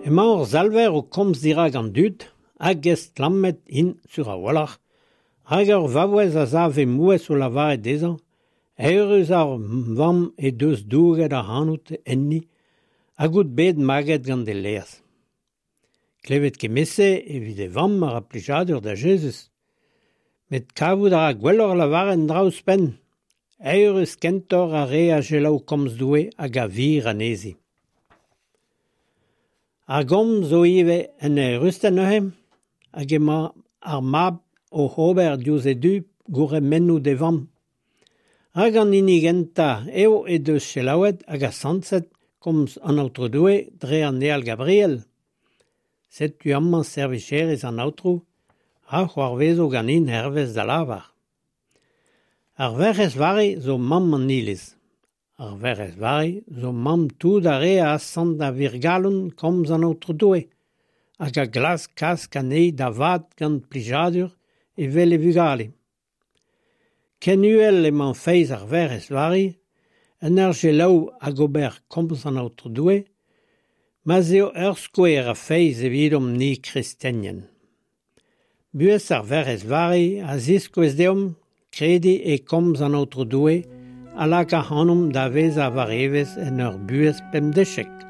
Emañ hor Salver o komz dirak an dud, hag estlammet int sur a-walc'h, rak ur vaouez a sav he mouezh o lavaret dezhañ Eürus ar vamm he deus douget ac'hanout enni hag out bet maget gant he laezh. Klevet kement-se evit e vamm a ra plijadur da Jezuz. Met kavout a ra gwelloc'h lavaret un dra ouzhpenn. Eürus kentoc'h ar re a selaou komz Doue hag a vir anezhi. Ar gomz zo ivez en eürusted neuze, hag emañ ar mab oc'h ober diouzh e du gourc'hemennoù d'e vamm. Rak an hini gentañ eo he deus selaouet hag asantet komz an Aotrou Doue dre an Eal Gabriel. Setu amañ servijerez an Aotrou, ra c'hoarvezo ganin hervez da lavar. Ar Werc'hez Vari zo mamm an Iliz. Ar Werc'hez Vari zo mamm tout ar re a asant a wir-galon komz an Aotrou Doue hag a glask kas anezhi da vat gant plijadur evel e vugale. Ken uhel emañ feiz ar Werc'hez Vari en ur selaou hag ober komz an Aotrou Doue, ma'z eo ur skouer a feiz evidomp-ni kristenien. Buhez ar Werc'hez Vari a ziskouez deomp krediñ e komz an Aotrou Doue a lak ac'hanomp da vezañ war evezh en ur buhez pemdeziek.